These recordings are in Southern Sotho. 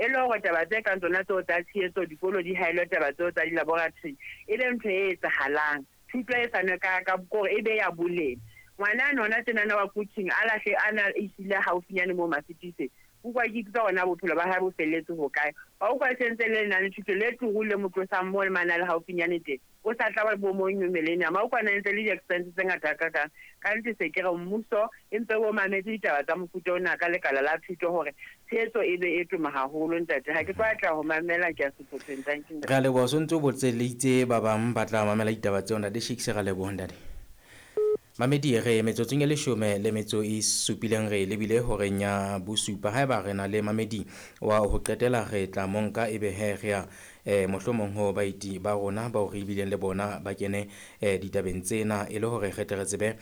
E le hore taba tse kang tsona tseo tsa tshehetso, dikolo di haelwe taba tseo tsa di-laboratory, e be ntho e etsahalang. Thuto e fanwe ka ka kore e be ya boleng. Ngwana ane hona tjenana wa Quthing a lahle a na ehlile haufinyane moo Masitise. Utlwa ke ipotsa hore na bophelo ba hae bo felletse hokae. Wa utlwa e sentse le lenane thuto le turu le mo tlosang moo le mane a le haufinyane teng. O sa tla ba bo mo New Millennium. A utlwa na entse le di-expense tse ngata hakakang. Ka nnete se ke re mmuso e mpe o mametse ditaba tsa mofuta ona ka lekala la thuto hore tshehetso e be e toma haholo ntate. Ha ke tlo atleha ho mamela ke ya sehlopheng. Thank you. Re a leboha, o sontse o botselitse ba bang ba tla mamela ditaba tseo ntate Shakes, re a leboha ntate. Mamedi re metsotsong e leshome le metso e supileng re lebile horeng ya bosupa. Haeba re na le mamedi wa ho qetela re tla monka ebe he re ya mohlomong ho baeti ba rona bao re bileng le bona ba kene ditabeng tsena e le hore re tle re tsebe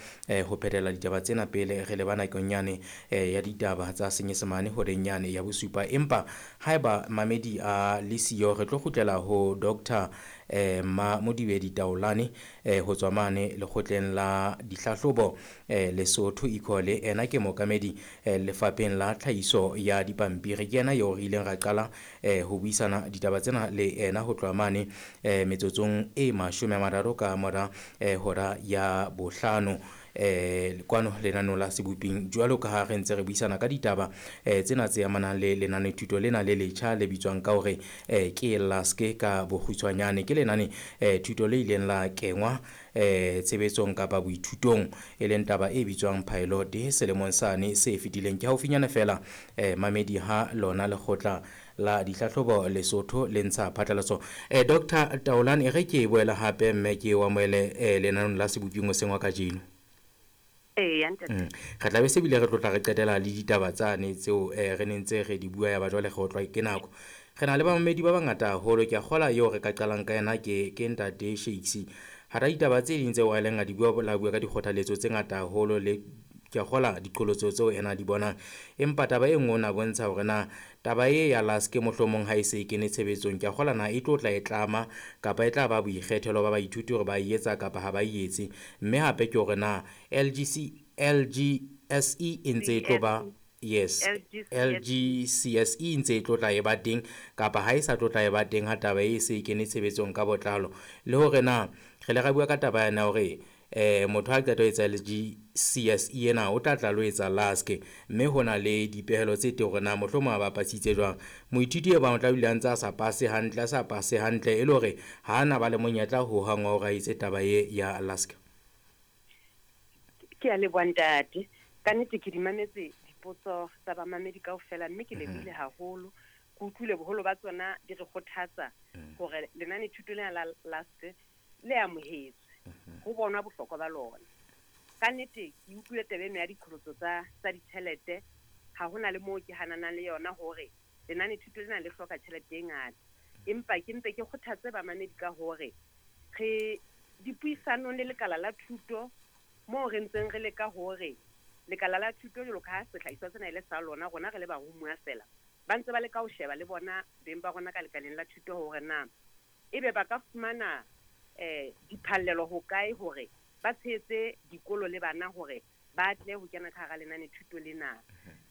ho phethela ditaba tsena pele re leba nakong yane ya ditaba tsa Senyesemane horeng yane ya bosupa. Empa haeba mamedi a le siyo re tlo kgutlela ho Doctor Mamodibedi Taolane ho tswa mane lekgotleng la dihlahlobo Lesotho Ecole. Ena ke mookamedi lefapheng la tlhahiso ya dipampiri. Ke yena eo re ileng ra qala ho buisana ditaba tsena le ena ho tloha mane metsotsong e 30 ka mora hora ya bohlano kwano lenaneo la Seboping. Jwalo ka ha re ntse re buisana ka ditaba tsena tse amanang le lenane thuto lena le letjha le bitswang ka hore ke LASC ka bokgutshwanyane. Ke lenane thuto le ileng la kengwa tshebetsong kapa boithutong e leng taba e bitswang pilot selemong sane se fetileng. Ke haufinyane fela mamedi ha lona lekgotla la dihlahlobo Lesotho le ntsha phatlalatso. Dr. Taolane, e re ke boela hape mme ke o amohele lenaneong la Seboping hoseng wa kajeno. Eya, ntate. Re tla be se bile re tlotla re qetela le ditaba tsane tseo re neng ntse re di bua ya ba jwale re otlwa ke nako. Re na le bamamedi ba bangata haholo. Ke a kgola eo re ka qalang ka yena ke ntate Shakes. Hara ditaba tse ding tseo a ileng a di bua, la bua ka dikgothaletso tse ngata haholo le ke a kgola diqholotso tseo ena di bonang. Empa taba e nngwe o na bontsha hore na taba e ya LASC mohlomong ha e se e kene tshebetsong, ke a kgola na e tlo tla e tlama kapa e tla ba boikgethelo ba baithuti hore ba e etsa kapa ha ba e etse. Mme hape ke hore na LGSE e ntse e tlo ba yes, LGCSE e ntse e tlo tla e ba teng kapa ha e sa tlo tla e ba teng ha taba e se e kene tshebetsong ka botlalo. Le hore na re le ra bua ka taba yana hore motho ha qeta ho etsa LGCSE ena o tla tla lo etsa LASC, mme ho na le dipehelo tse teng hore na mohlomong a bapasitse jwang. Moithuti e bang o tla dula a ntse a sa pase hantle, a sa pase hantle e le hore ha ana ba le monyetla ho hang wa hore a etse taba e ya LASC. Ke a leboha ntate. Ka nnete ke di mametse dipotso tsa bamamedi kaofela mme ke lebohile haholo. Ke utlwile boholo ba tsona di re kgothatsa hore lenane thuto lena la LASC le amohetswe, ho bonwa bohlokwa ba lona. Ka nnete ke utlwile taba eno ya diqholotso tsa ditjhelete, ha hona le moo ke hananang le yona hore lenane thuto lena le hloka tjhelete e ngata. Empa ke mpe ke kgothatse bamamedi ka hore re dipuisanong le lekala la thuto moo re ntseng re leka hore lekala la thuto jwalo ka ha sehlahiswa sena e le sa lona, rona re le barumuwa fela, ba ntse ba leka ho sheba le bona beng ba rona ka lekaleng la thuto hore na ebe ba ka fumana diphallelo hokae hore ba tshehetse dikolo le bana hore ba tle ho kena ka hara lenane thuto lena.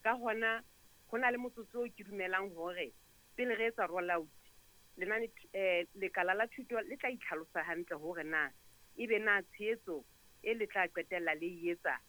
Ka hona ho na le motsotso oo ke dumelang hore pele re etsa roll out lenane lekala la thuto le tla itlhalosa hantle hore na ebe na tshehetso e le tla qetella le e etsa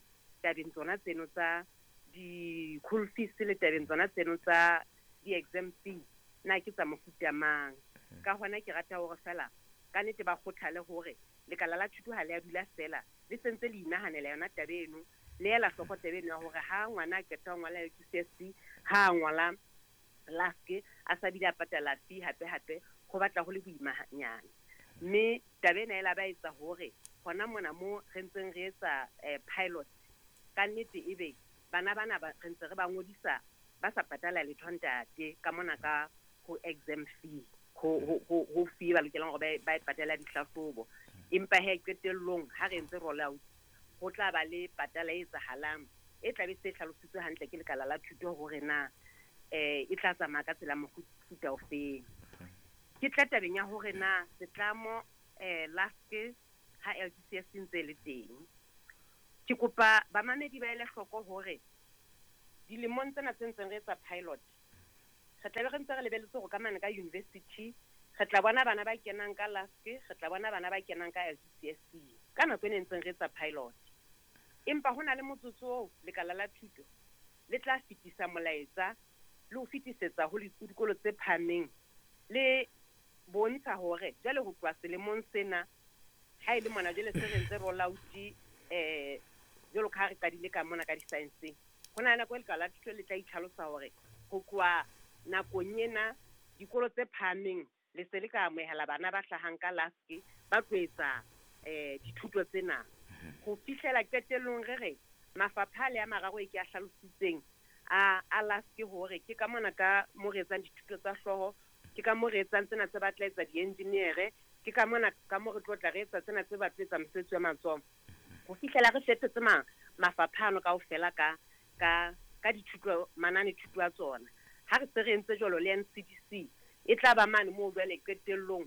tabeng tsona tseno tsa di-school fees le tabeng tsona tseno tsa di-exam fee na ke tsa mofuta mang. Ka hona ke rata hore fela ka nnete ba kgothale hore lekala la thuto ha le a dula fela, le sentse le inahanela yona taba eno, le ela hloko taba eno ya hore ha ngwana a qeta ho ngola LGCSE, ha a ngola LASC, a sa bile a patala fee hape hape, ho batla ho le boimanyana. Mme taba ena e la ba etsa hore hona mona mo re ntseng re etsa pilot, ka nnete ebe bana bana ba re ntse re ba ngodisa ba sa patala letho ntate ka mona ka ho exam fee, ho fee ba lokelang hore ba e patala dihlahlobo. Empa he qetellong ha re ntse roll out ho tla ba le patala e etsahalang e tla be se hlalositswe hantle ke lekala la thuto hore na e tla tsamaya ka tsela mofuta ofeng. Ke tla tabeng ya hore na setlamo LASC ha LGCSE ntse le teng. Ke kopa bamamedi ba ele hloko hore dilemong tsena tse ntseng re etsa pilot, Re tla be re ntse re lebelletse hore ka mane ka university re tla bona bana ba kenang ka LASC, re tla bona bana ba kenang ka LDCSC ka nako e ne ntseng re etsa pilot. Empa ho na le motsotso oo lekala la thuto le tla fetisa molaetsa le ho fetisetsa ho dikolo tse phahameng le bontsha hore jwale ho tloha selemong sena ha e le mona jwale se re ntse roll out jwalo ka ha re qadile ka mona ka di-science. Ho na le nako e lekala la thuto le tla itlhalosa hore ho tloha nakong ena dikolo tse phahameng le se le ka amohela bana ba hlahang ka LASC ba tlo etsa dithuto tsena. Ho fihlela qetellong re re mafapha le a mararo e ke a hlalositseng a LASC hore ke ka mona ka mo re etsang dithuto tsa hlooho, ke ka mo re etsang tsena tse batla etsa di-engineer, ke ka mona ka mo re tlo tla re etsa tsena tse batla etsa mosebetsi wa matsoho. Ho fihlela re fetetse mafapha ano kaofela ka dithuto manane thuto a tsona. Ha re se re entse jwalo le NCDC e tla ba mane moo jwale qetellong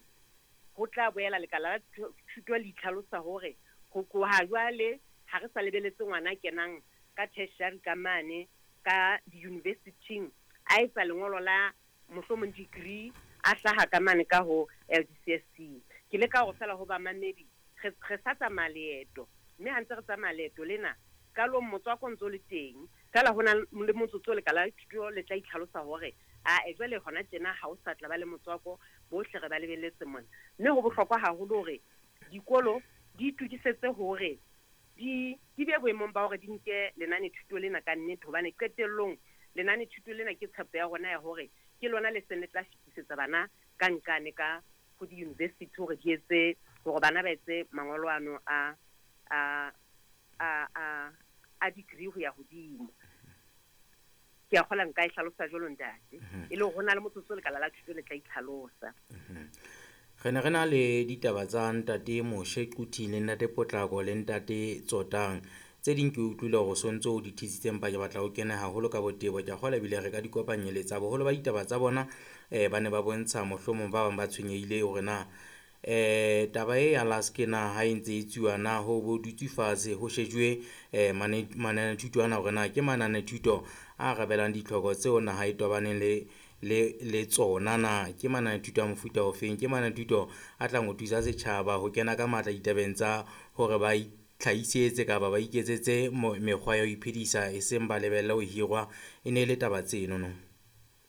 ho tla boela lekala la thuto le itlhalosa hore ho tloha jwale ha re sa lebeletse ngwana a kenang ka tertiary ka mane ka di-university-ing a etsa lengolo la mohlomong degree a hlaha ka mane ka ho LDCSC. Ke leka hore fela ho bamamedi re sa tsamaya leeto, mme ha ntse re tsamaya leeto lena qalong motswako o ntso le teng, fela ho na le motsotso lekala la thuto le tla itlhalosa hore a jwale hona tjena ha o sa tla ba le motswako, bohle re ba lebelletse mona. Mme ho bohlokwa haholo hore dikolo di itokisetse hore di be boemong ba hore di nke lenane thuto lena ka nnete, hobane qetellong lenane thuto lena ke tshepo ya rona ya hore ke lona le seng le tla fetisetsa bana ka nkane ka ho di-university hore di etse hore bana ba etse mangolo ano a degree ho ya hodimo. Ke a kgola nka e hlalosa jwalo ntate, e le hore ho na le motsotso lekala la thuto le tla itlhalosa. Re ne re na le ditaba tsa ntate Moshe Quthing le ntate Potlako le ntate Tsotang. Tse ding ke utlwile hore o sontso o di thisitse, empa ke batla ho kena haholo ka botebo. Ke a kgolwa ebile re ka di kopanyeletsa. Boholo ba ditaba tsa bona ba ne ba bontsha mohlomong ba bang ba tshwenyehile hore na taba e ya LASC na ha e ntse e tsuwa na ho bo dutse fatshe ho shejuwe mananethuto ana hore na ke mananethuto a arabelang ditlhoko tseo naha e tobaneng le tsona na ke mananethuto a mofuta ofeng, ke mananethuto a tlang ho thusa setjhaba ho kena ka matla ditabeng tsa hore ba itlhahisetse kapa ba iketsetse mekgwa ya ho iphedisa e seng ba lebelle ho hirwa. E ne e le taba tseno no.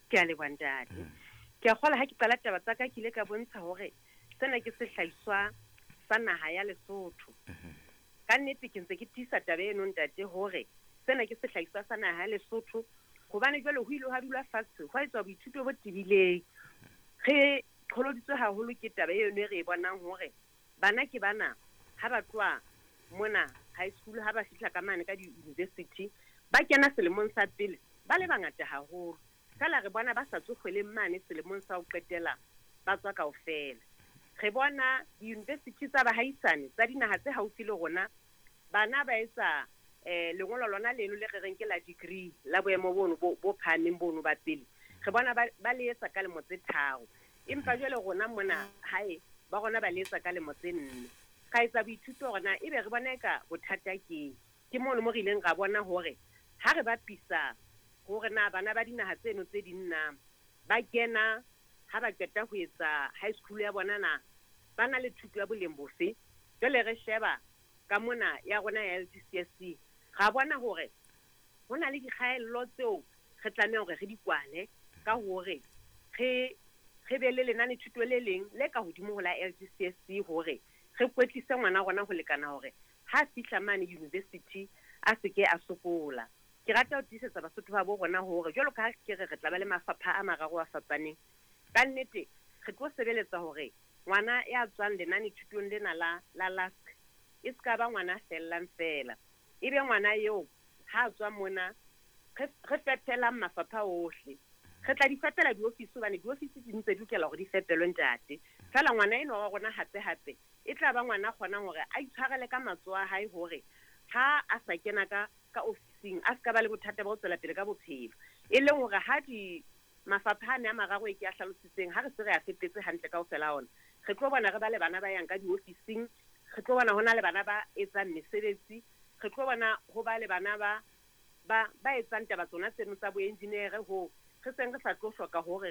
Ke a leboha ntate. Ke a kgola ha ke qala taba tsa ka ke ile ka bontsha hore sena ke sehlahiswa sa naha ya Lesotho. Ka nnete ke ntse ke tiisa taba eno ntate hore sena ke sehlahiswa sa naha ya Lesotho, hobane jwale ho ile ha dula fatshe ho etswa boithuto bo tebileng. Re qholoditswe haholo ke taba eno e re e bonang hore bana ke bana ha ba tloha mona high school ha ba fihla ka mane ka di-university ba kena selemong sa pele ba le bangata haholo, fela re bona ba sa tswe kgweleng mane selemong sa ho qetela ba tswa kaofela. Re bona di-university tsa bahaisane tsa dinaha tse haufi le rona bana ba etsa lengolo lona leno le re reng ke la degree la boemo bono bo phahameng bono ba pele, re bona ba le etsa ka lemo tse 3, empa jwale rona mona hae ba rona ba le etsa ka lemo tse 4. Ka etsa boithuto hore na ebe re bona eka bothata ke mono mo re ileng ra bona hore ha re bapisa hore na bana ba dinaha tseno tse ding na ba kena ha ba qeta ho etsa high school ya bona na ba na le thuto ya boleng bofe. Jwale re sheba ka mona ya rona ya LDCSC ra bona hore ho na le dikgaello tseo re tlameha hore re di kwale ka hore re be le lenane thuto le leng le ka hodimo ho la LDCSC hore re kwetlise ngwana rona ho lekana hore ha fihla mane university a se ke a sokola. Ke rata ho tiisetsa Basotho ba bo rona hore jwalo ka ha ke re re tla ba le mafapha a mararo a fapaneng, ka nnete re tlo sebeletsa hore ngwana ya tswang lenane thutong lena la LASC e ska ba ngwana fellang fela, ebe ngwana eo ha tswa mona re fepelang mafapha ohle. Re tla di fepela diofisi hobane diofisi di ntse di lokela hore di fepelwe ntate, fela ngwana enwa wa rona hape hape e tla ba ngwana kgonang hore a itshwarele ka matsoho a hae hore ha a sa kena ka ofising a ska ba le bothata ba ho tswela pele ka bophelo. E leng hore ha di mafapha a mararo e ke a hlalositseng ha re se re a fepetse hantle kaofela ona, re tlo bona re ba le bana ba yang ka diofising, re tlo bona ho na le bana ba etsang mesebetsi, re tlo bona ho ba le bana ba etsang taba tsona tseno tsa boengineere ho Re seng re sa tlo hloka hore